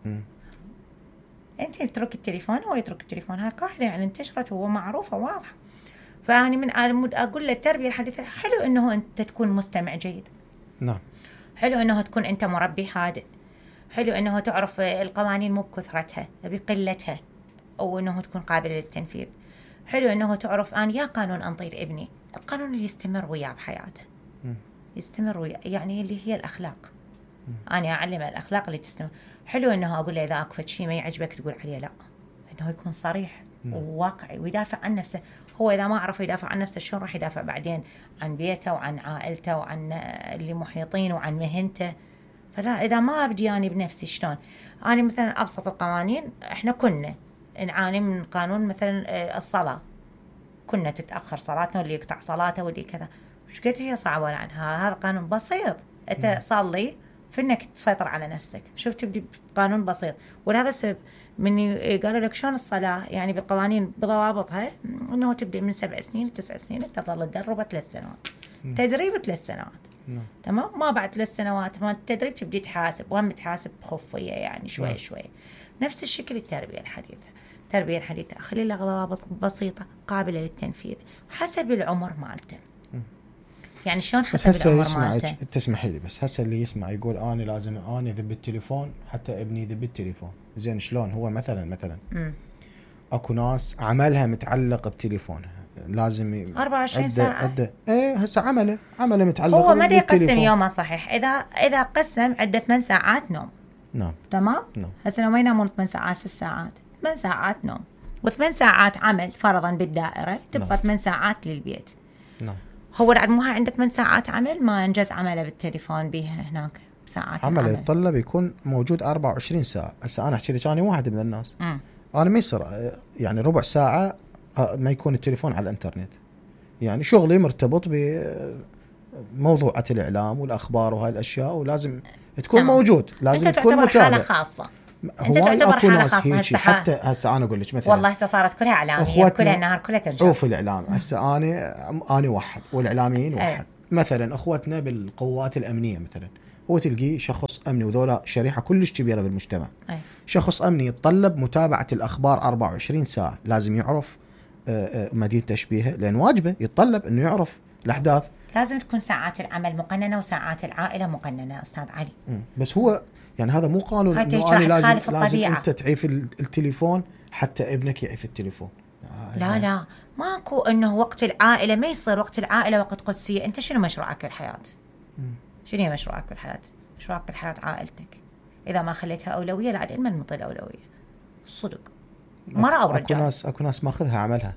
امم انت تترك التليفون هو يترك التليفون. هاي قاعده يعني انتشرت ومعروفه واضحه. فاني من اقول للتربيه الحديثه حلو انه انت تكون مستمع جيد. نعم. حلو انه تكون انت مربي هادئ. حلو انه تعرف القوانين مو بكثرتها بقلتها، او انه تكون قابله للتنفيذ. حلو انه تعرف انا يا قانون انطير ابني القانون اللي يستمر وياه بحياته. م. يستمر وياه يعني اللي هي الاخلاق. م. انا اعلمه الاخلاق اللي تستمر. حلو انه اقول له اذا اكفت شيء ما يعجبك تقول عليه لا، انه يكون صريح م. وواقعي ويدافع عن نفسه. هو اذا ما عرف يدافع عن نفسه شلون راح يدافع بعدين عن بيته وعن عائلته وعن اللي محيطين وعن مهنته؟ فلا اذا ما ابدي اني بنفسي شلون؟ انا مثلا ابسط القوانين احنا كنا نعاني من قانون مثلا الصلاه، كنا تتاخر صلاتنا واللي يقطع صلاته واللي كذا. ايش قد هي صعبه عنها؟ هذا قانون بسيط، انت صلي في انك تسيطر على نفسك. شوف تبدي بقانون بسيط. ولهذا السبب من قالوا لك شلون الصلاه يعني بالقوانين بضوابطها انه تبدي من سبع سنين تسع سنين تظل تدرب ثلاث سنوات. مم. تدريب ثلاث سنوات. مم. تمام. ما بعد ثلاث سنوات ما التدريب تبدي تحاسب، وهم تحاسب بخفيه يعني شوي مم. شوي. نفس الشكل التربيه الحديثه. التربيه الحديثه خلي لها ضوابط بسيطه قابله للتنفيذ حسب العمر مالته. يعني شلون حسب العمر مالته؟ تسمحي لي بس هسه اللي يسمع يقول انا لازم اني ذب التليفون حتى ابني يذب التليفون. زين شلون؟ هو مثلا مثلا مم. اكو ناس عملها متعلق بتليفونها، لازم أربعة وعشرين ساعه. عده ايه هسه عمله عمله متعلق. هو ما يقسم يومه صحيح. اذا اذا قسم عده ثمان ساعات نوم. نعم. تمام. نعم. هسه لو ما ينامون ثمان ساعات ست ساعات، ثمان ساعات نوم وثمان ساعات عمل فرضا بالدائره، تبقى نعم. ثمان ساعات للبيت. نعم. هو بعد مو عنده ثمان ساعات عمل ما انجز عمله بالتليفون به هناك ساعات عمله يتطلب يكون موجود أربعة وعشرين ساعه. هسه انا احكي لك انا واحد من الناس م. انا ما يصير يعني ربع ساعه ما يكون التليفون على الانترنت. يعني شغلي مرتبط بموضوعات الاعلام والاخبار وهاي الاشياء، ولازم تكون تمام. موجود، لازم انت تكون تعتبر حاله متابع. خاصه، انت تعتبر حاله خاصه هسه. حتى هسه انا اقول لك مثلا والله هسه صارت كلها اعلاميه، كلها النهار كلها ترجع. شوف الاعلام هسه انا انا واحد والاعلاميين واحد. أي. مثلا اخوتنا بالقوات الامنيه مثلا، هو تلقيه شخص امني وذولا شريحه كلش كبيره بالمجتمع. أي. شخص امني يتطلب متابعه الاخبار أربعة وعشرين ساعه، لازم يعرف مدينه تشبيهه، لان واجبه يتطلب انه يعرف الاحداث. لازم تكون ساعات العمل مقننه وساعات العائله مقننه استاذ علي. م. بس هو يعني هذا مو قانون انه انا لازم لازم انت تعيف التليفون حتى ابنك يعيف التليفون. آه لا لا ماكو انه وقت العائله ما يصير وقت العائله وقت قدسيه. انت شنو مشروعك بالحياه؟ شنو هي مشروعك بالحياه؟ مشروعك بالحياه عائلتك. اذا ما خليتها اولويه لا عاد من مطل اولويه صدق. مرة او رجال. اكو ناس اكو ناس ماخذها عملها.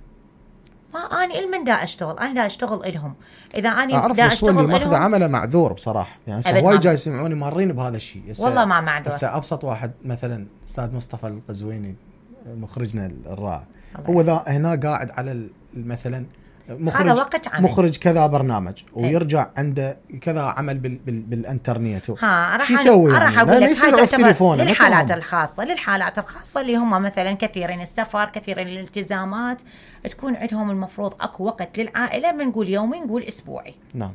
ما اني المن دا اشتغل، انا دا اشتغل الهم. اذا اني اعرف دا اشتغل اللي ماخذ عمله معذور بصراحه، يعني هواي جاي يسمعوني مارين بهذا الشيء. والله ما معذور. هسه ابسط واحد مثلا استاذ مصطفى القزويني مخرجنا الرائع، هو ذا هنا قاعد على مثلا مخرج وقت عمل. مخرج كذا برنامج ويرجع عنده كذا عمل بال بال بالانترنت. ها راح يسوي يعني؟ راح اقول لك هاي تليفونه للحالات الخاصه، للحالات الخاصه اللي هم مثلا كثيرين السفر، كثيرين الالتزامات، تكون عندهم المفروض اكو وقت للعائله، بنقول يومي نقول اسبوعي. نعم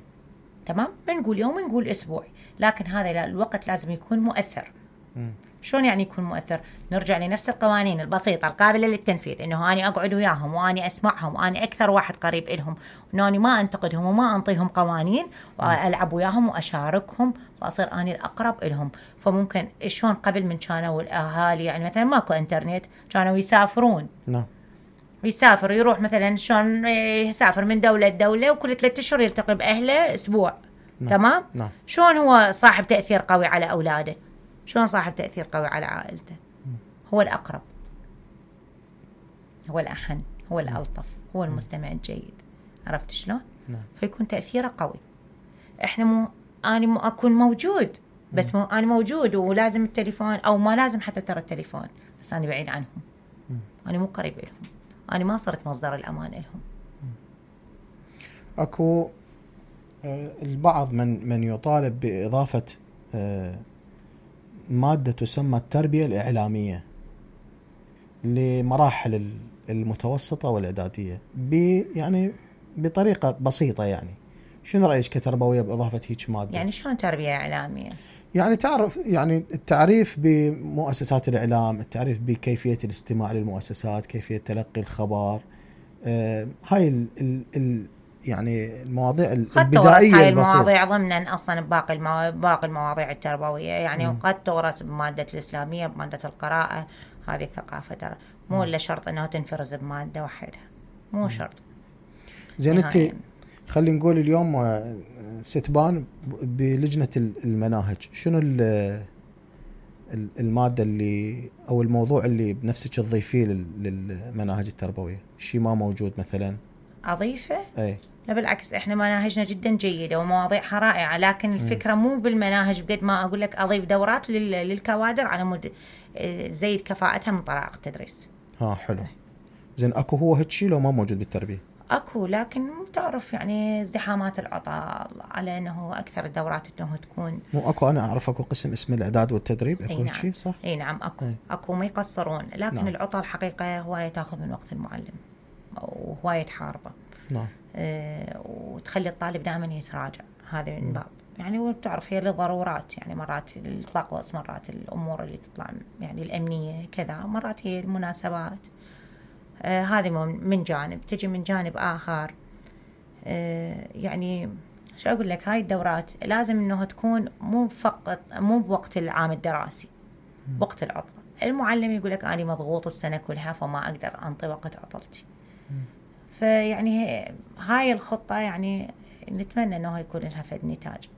تمام، بنقول يومي نقول اسبوعي، لكن هذا الوقت لازم يكون مؤثر. م. شلون يعني يكون مؤثر؟ نرجع لنفس القوانين البسيطة القابلة للتنفيذ، إنه أنا أقعد وياهم وأنا أسمعهم وأنا أكثر واحد قريب إلهم، وأنا ما أنتقدهم وما أنطيهم قوانين وألعب وياهم وأشاركهم وأصير أنا الأقرب إلهم. فممكن شلون قبل من كانوا الأهالي يعني مثلا ماكو إنترنت، كانوا يسافرون. نعم. يسافر يروح مثلا شلون يسافر من دولة لدولة وكل ثلاثة أشهر يلتقي بأهله أسبوع. نعم. تمام؟ نعم. شلون هو صاحب تأثير قوي على أولاده؟ شلون صاحب تأثير قوي على عائلته؟ هو الأقرب، هو الأحن، هو الألطف، هو المستمع الجيد. عرفت شلون؟ نعم. فيكون تأثيره قوي. إحنا مو أنا مو أكون موجود، بس مو أنا موجود ولازم التليفون أو ما لازم حتى ترى التليفون، بس أنا بعيد عنهم. أنا مو قريب لهم، أنا ما صرت مصدر الأمان لهم. أكو البعض من من يطالب بإضافة مادة تسمى التربية الإعلامية لمراحل المتوسطة والإعدادية يعني بطريقة بسيطة. يعني شنو رأيك كتربوية بإضافة هيك مادة؟ يعني شلون تربية إعلامية؟ يعني تعرف يعني التعريف بمؤسسات الإعلام، التعريف بكيفية الاستماع للمؤسسات، كيفية تلقي الخبر، آه هاي ال ال ال يعني المواضيع البدائية هاي المواضيع ضمنا أصلا باقي المو... باقي المواضيع التربوية يعني م. قد تورث بمادة الإسلامية، بمادة القراءة، هذه الثقافة ترى مو إلا شرط أنه تنفرز بمادة واحدة، مو شرط. زين انت خلينا نقول اليوم ستبان بلجنة المناهج، شنو المادة اللي أو الموضوع اللي بنفسك تضيفيه للمناهج التربوية؟ شيء ما موجود مثلا أضيفه؟ أي لا بالعكس، إحنا مناهجنا جدا جيدة ومواضيعها رائعة، لكن الفكرة مو بالمناهج بقد ما أقول لك أضيف دورات للكوادر على مود زيد كفاءتها من طريقة التدريس. ها حلو. زين أكو هو هالشيء لو ما موجود بالتربية؟ أكو، لكن تعرف يعني ازدحامات العطاء على أنه أكثر الدورات أنه تكون مو أكو. أنا أعرف أكو قسم اسمه الإعداد والتدريب، أكو نعم. شيء صح؟ أي نعم أكو أي. أكو ما يقصرون، لكن نعم. العطاء الحقيقة هواية تأخذ من وقت المعلم وهواية حاربة. نعم. أه وتخلي الطالب دائما يتراجع، هذا من باب يعني. وبتعرف هي لضرورات يعني، مرات الطقس، مرات الأمور اللي تطلع يعني الأمنية كذا، مرات هي المناسبات. آه هذه من جانب. تجي من جانب آخر آه يعني شو أقول لك، هاي الدورات لازم إنه تكون مو فقط مو بوقت العام الدراسي، وقت العطلة. المعلم يقول لك أنا مضغوط السنة كلها فما أقدر أنطي وقت عطلتي. فيعني هاي الخطة يعني نتمنى إنه يكون لها فد نتاج.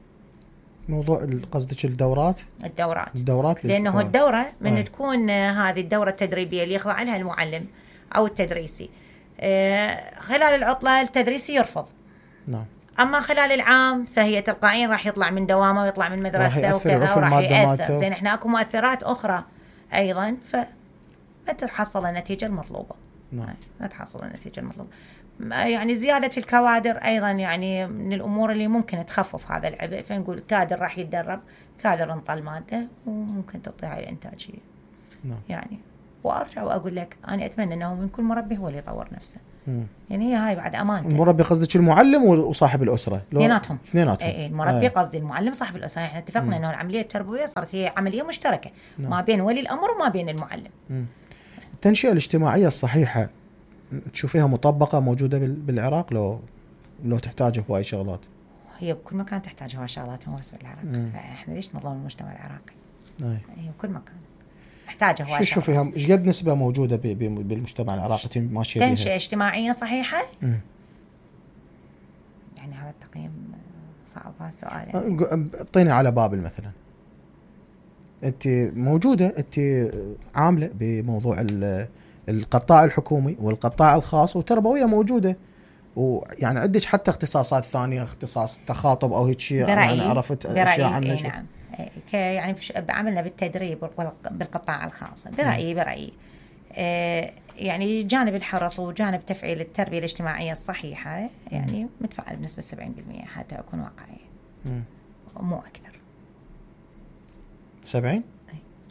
موضوع قصدك الدورات؟ الدورات الدورات لأنه الدورة من آه. تكون هذه الدورة التدريبية اللي يخضع لها المعلم أو التدريسي آه خلال العطلة التدريسي يرفض. نعم. أما خلال العام فهي تلقائيا راح يطلع من دوامه ويطلع من مدرسته وكذا وراح يأثر. زين إحنا أكو مؤثرات أخرى أيضا فما تحصل النتيجة المطلوبة. نعم. ما تحصل النتيجة المطلوبة. يعني زيادة الكوادر أيضا يعني من الأمور اللي ممكن تخفف هذا العبء. فنقول كادر راح يتدرب، كادر انطى المادة وممكن تعطي هاي الإنتاجية. نعم. يعني وأرجع وأقول لك أنا أتمنى أنه من كل مربي هو اللي يطور نفسه. مم. يعني هي هاي بعد أمانته. المربي قصدك المعلم وصاحب الأسرة؟ اثنيناتهم. اثنيناتهم. اي المربي قصدي المعلم صاحب الأسرة. احنا اتفقنا أنه العملية التربوية صارت هي عملية مشتركة. نعم. ما بين ولي الأمر وما بين المعلم. مم. التنشئة الاجتماعية الصحيحة تشوفيها مطبقة موجودة بالعراق لو لو تحتاج هواي شغلات؟ هي بكل مكان تحتاج هواي شغلات، مو بس بالعراق. احنا ليش نظلم المجتمع العراقي؟ أي. هي بكل مكان محتاجة هواي شغلات. شو تشوفيها ايش قد نسبة موجودة بالمجتمع العراقي ماشية بيها؟ تنشئة اجتماعية صحيحة؟ مم. يعني هذا التقييم صعب هذا السؤال. يعني اعطيني على بابل مثلا، انت موجودة، انت عاملة بموضوع القطاع الحكومي والقطاع الخاص وتربوية موجودة، ويعني عندك حتى اختصاصات ثانية، اختصاص تخاطب او هيك شيء. انا عرفت اشياء عنك. نعم. يعني عملنا بالتدريب بالقطاع الخاص. برأيي برأيي آه يعني جانب الحرص وجانب تفعيل التربية الاجتماعية الصحيحة يعني متفعل بنسبة سبعين بالمئة حتى أكون واقعية، مو أكثر. سبعين؟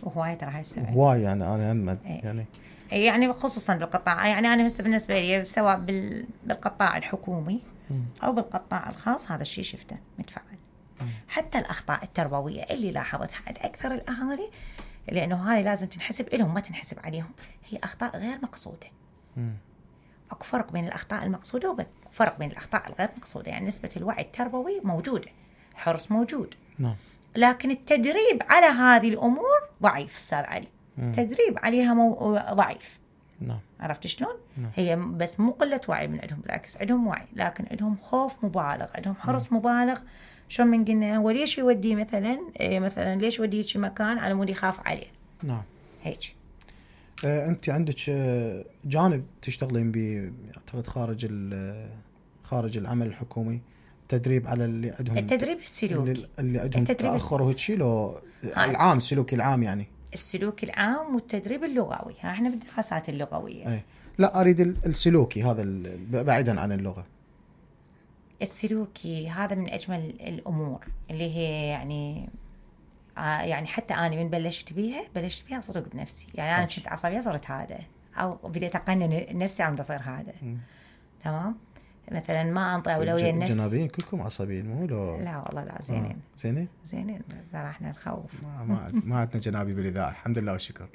وهواي ترى هاي السبعين هواي يعني أنا هم يعني يعني خصوصا بالقطاع. يعني أنا بالنسبة لي سواء بالقطاع الحكومي أو بالقطاع الخاص هذا الشيء شفته متفعل. حتى الأخطاء التربوية اللي لاحظتها عند أكثر الأهالي، لأنه هاي لازم تنحسب لهم ما تنحسب عليهم، هي أخطاء غير مقصودة. أكو فرق بين الأخطاء المقصودة وفرق بين الأخطاء الغير مقصودة. يعني نسبة الوعي التربوي موجودة، الحرص موجود. نعم. لكن التدريب على هذه الأمور ضعيف أستاذ علي. مم. تدريب عليها مو... ضعيف. نعم. عرفت شلون؟ نعم. هي بس مو قلة وعي من عندهم، بالعكس عندهم وعي لكن عندهم خوف مبالغ، عندهم حرص مم. مبالغ. شو من قلنا وليش يودي مثلا إيه مثلا ليش يودي شي مكان على مود يخاف عليه. نعم. هيك. آه انت عندك جانب تشتغلين به اعتقد خارج خارج العمل الحكومي، تدريب على اللي عندهم التدريب السلوكي اللي عندهم تاخر وهيك شيء لو العام السلوكي العام يعني السلوكي العام والتدريب اللغوي. ها احنا بالدراسات اللغويه. أي. لا اريد السلوكي هذا بعيدا عن اللغه. السلوكي هذا من اجمل الامور اللي هي يعني آه يعني حتى انا من بلشت بيها بلشت بيها صدق بنفسي. يعني انا كنت عصبيه صرت هذا، او بديت اقنن نفسي عم تصير هذا. م. تمام. مثلا ما انطي اولويه لنفسي. جنابين كلكم عصبيين مو لو؟ لا والله لا زينين. آه. زينين زينين ترى احنا نخوف. ما ما عندنا جنابي بالاذاعه الحمد لله والشكر.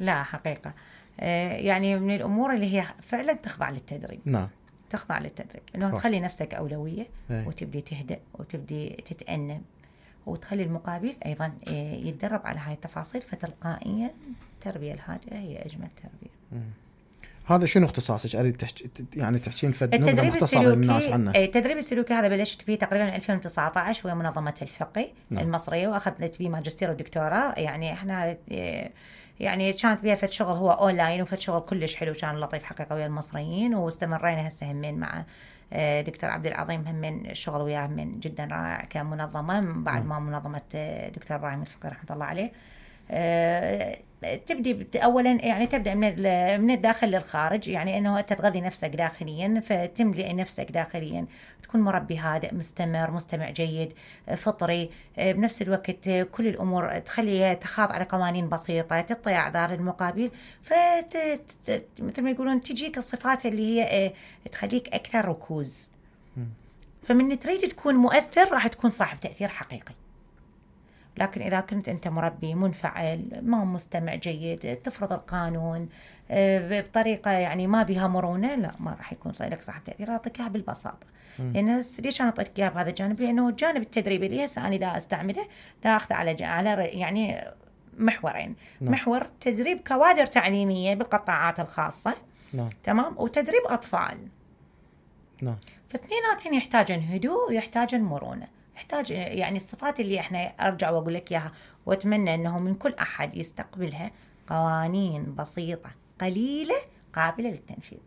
لا حقيقه آه يعني من الامور اللي هي فعلا تخضع للتدريب. نعم. تخضع للتدريب انه تخلي نفسك اولويه. هي. وتبدي تهدأ وتبدي تتأنب وتخلي المقابل ايضا يتدرب على هاي التفاصيل، فتلقائيا التربيه الهادئه هي اجمل تربيه. م. هذا شنو اختصاصك؟ اريد تحكي يعني تحكين فد نبذه مختصره للناس عنه. التدريب السلوكي هذا بلشت فيه تقريبا ألفين وتسعة عشر ويا منظمه الفقه نعم. المصريه، واخذت فيه ماجستير ودكتوراه. يعني احنا يعني كانت بيها فد شغل هو اونلاين وفد شغل كلش حلو كان لطيف حقيقه ويا المصريين، واستمرينا هسه همين مع دكتور عبد العظيم همين الشغل وياه من جدا رائع كمنظمه بعد ما منظمه دكتور ابراهيم الفقي رحمه الله عليه. أه تبدي اولا يعني تبدا من من الداخل للخارج، يعني انه تتغذي نفسك داخليا فتملئ نفسك داخليا، تكون مربي هادئ مستمر مستمع جيد فطري، بنفس الوقت كل الامور تخلي تخاض على قوانين بسيطه، تعطي اعذار المقابل، فت مثل ما يقولون تجيك الصفات اللي هي تخليك اكثر ركوز. فمن تريد تكون مؤثر راح تكون صاحب تاثير حقيقي. لكن إذا كنت أنت مربي منفعل ما مستمع جيد تفرض القانون بطريقة يعني ما بها مرونة، لا ما راح يكون صايلك صاحب تأثير. أعطيك إياها بالبساطة. لأن ليش أنا أعطيك إياها بهذا الجانب؟ لأنه الجانب التدريبي اللي هسه أنا دا أستعمله دا أخذ على على يعني محورين. نعم. محور تدريب كوادر تعليمية بالقطاعات الخاصة. نعم. تمام. وتدريب أطفال. نعم. فاثنيناتهم يحتاجن هدوء ويحتاجن مرونة. يحتاج يعني الصفات اللي احنا ارجع واقول لك اياها واتمنى انه من كل احد يستقبلها، قوانين بسيطه قليله قابله للتنفيذ.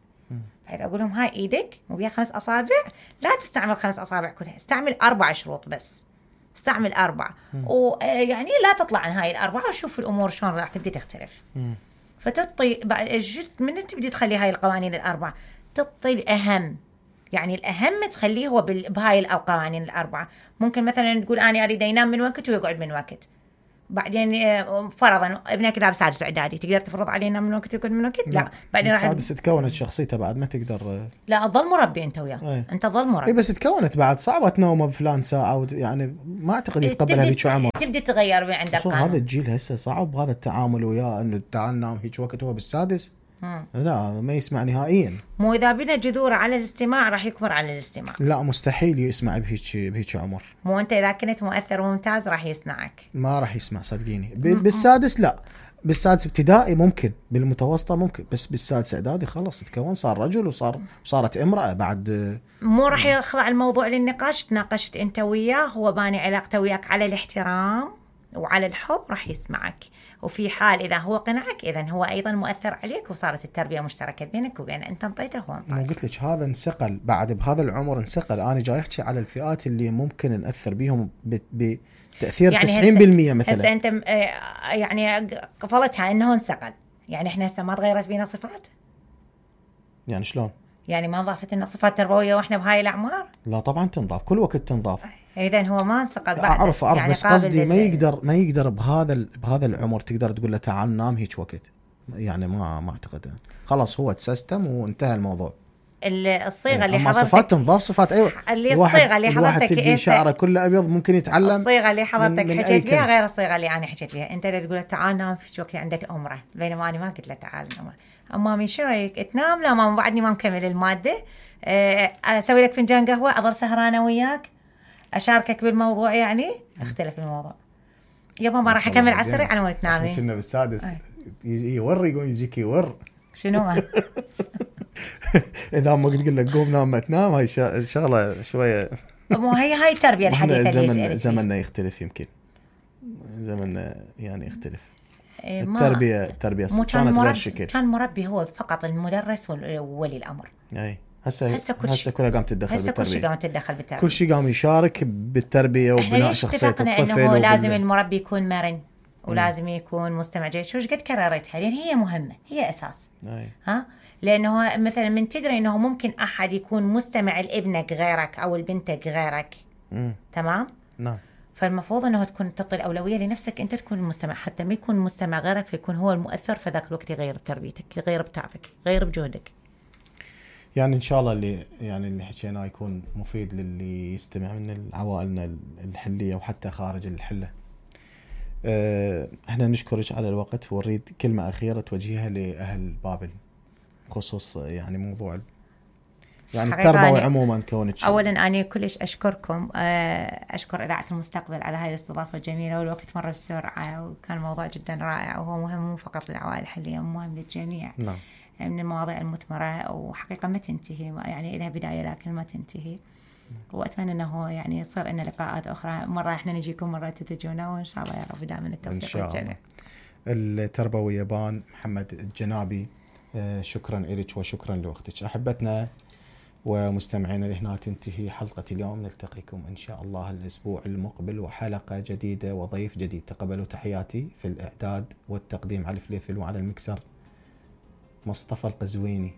فاذا اقول لهم هاي ايدك مو بيها خمس اصابع، لا تستعمل خمس اصابع كلها، استعمل اربع شروط بس، استعمل اربعه ويعني لا تطلع عن هاي الاربعه وشوف الامور شلون راح تبدي تختلف. مم. فتعطي بعد من تبدي تخلي هاي القوانين الأربعة تعطي الأهم، يعني الأهم تخليه هو بهاي القوانين الأربعة. ممكن مثلا تقول أنا أريد ينام من وقت ويقعد من وقت، بعدين فرضا ابنك ذا بسادس إعدادي تقدر تفرض عليه ينام من وقت ويقعد من وقت؟ لا, لا. بعدين سادس تكونت شخصيته بعد ما تقدر، لا تظل مربي أنت وياه ايه. أنت ظل مربي اي بس تكونت بعد صعبة تنوم بفلان ساعة يعني ما أعتقد يتقبلها بيك عمر. تبدي تغير من عند القانون. هذا الجيل هسه صعب هذا التعامل وياه انه تعال نام هيك وقت هو بالسادس. مم. لا ما يسمع نهائيا. مو إذا بنا جذور على الاستماع راح يكبر على الاستماع. لا مستحيل يسمع بهيك بهيك عمر. مو أنت إذا كنت مؤثر وممتاز راح يسمعك. ما راح يسمع صدقيني. بالسادس لا، بالسادس ابتدائي ممكن، بالمتوسطة ممكن، بس بالسادس إعدادي خلص تكون صار رجل وصار صارت امرأة بعد. مو راح يخضع الموضوع للنقاش. تناقشت أنت وياه هو باني علاقته وياك على الاحترام وعلى الحب راح يسمعك، وفي حال إذا هو قنعك إذن هو أيضا مؤثر عليك وصارت التربية مشتركة بينك وبين أنت انطيته هو انطيته. مو قلت لك هذا انسقل بعد بهذا العمر انسقل. أنا جاي أحكي على الفئات اللي ممكن نأثر بيهم بتأثير يعني تسعين بالمئة مثلا. هسه أنت يعني قفلتها إنه انسقل، يعني إحنا هسه ما تغيرت بينا صفات. يعني شلون؟ يعني ما ضافت لنا صفات تربوية وإحنا بهاي الأعمار؟ لا طبعا تنضاف كل وقت تنضاف. إذن هو ما انسقل بعد. أعرف أعرف يعني بس قصدي ما يقدر ما يقدر بهذا بهذا العمر تقدر تقول له تعال نام هيك وقت، يعني ما ما أعتقد. خلاص هو تسيستم وانتهى الموضوع. الصيغة اللي حضرتك صفات تنضاف صفات أيوة. اللي الصيغة اللي حضرتك تلقي شعره كله أبيض ممكن يتعلم. الصيغة اللي حضرتك حكيت بها غير الصيغة اللي أنا حكيت بها. أنت اللي تقول له تعال نام في وقت عندك أمره، بينما أنا ما قلت له تعال نام. أما من شو رأيك تنام؟ لا ما بعدني ما مكمل المادة. أسوي لك فنجان قهوة أظل سهرانة وياك أشاركك بالموضوع، يعني اختلف الموضوع. يابا ما راح أكمل عسري على ما تنامي. كنا بالسادس يور يقول يجيك يور شنو ما إذا ما قلت لك قوم نام ما تنام هاي شغلة شوية. مو هي هاي التربية الحديثة زمن اللي زمننا يختلف، يمكن زمننا يعني يختلف. التربية التربية كانت غير شكل. كان مربي هو فقط المدرس وولي الأمر. أي هسه هسه كلها قامت تتدخل بالتربية. كل شيء قامت تتدخل بالتربية. كل شيء قام يشارك بالتربية وبناء شخصية الطفل. إنه لازم المربي يكون مرن ولازم يكون مستمع جيد. شو قد كررتها لأن هي مهمة، هي أساس. أي. ها لأنه مثلا من تدري إنه ممكن أحد يكون مستمع لابنك غيرك أو لبنتك غيرك. مم. تمام. نعم. فالمفروض أنه تكون تعطي الأولوية لنفسك أنت تكون المستمع، حتى ما يكون مستمع غيرك فيكون هو المؤثر في ذاك الوقت، يغير بتربيتك، يغير بتعبك، يغير بجهدك. يعني إن شاء الله اللي يعني اللي حكيناه يكون مفيد للي يستمع من العوائلنا الحلية وحتى خارج الحلة. أه احنا نشكرك على الوقت ونريد كلمة أخيرة توجهها لأهل بابل خصوص يعني موضوع يعني التربوي عموما كونك. اولا انا كلش اشكركم، اشكر اذاعه المستقبل على هاي الاستضافه الجميله، والوقت مر بسرعه وكان موضوع جدا رائع وهو مهم مو فقط للعوائل الحليه، مهم للجميع. نعم. من المواضيع المثمره وحقيقه ما تنتهي، يعني لها بدايه لكن ما تنتهي. واتمنى انه يعني يصير لنا لقاءات اخرى، مره احنا نجيكم مره تتجونا، وان شاء الله يا رب دائما التوفيق والجميع. التربوي بان محمد الجنابي، شكرا لك وشكرا لوقتك. احبتنا ومستمعينا لهنا تنتهي حلقة اليوم، نلتقيكم إن شاء الله الأسبوع المقبل وحلقة جديدة وضيف جديد. تقبلوا تحياتي. في الإعداد والتقديم على الفليفل وعلى المكسر مصطفى القزويني.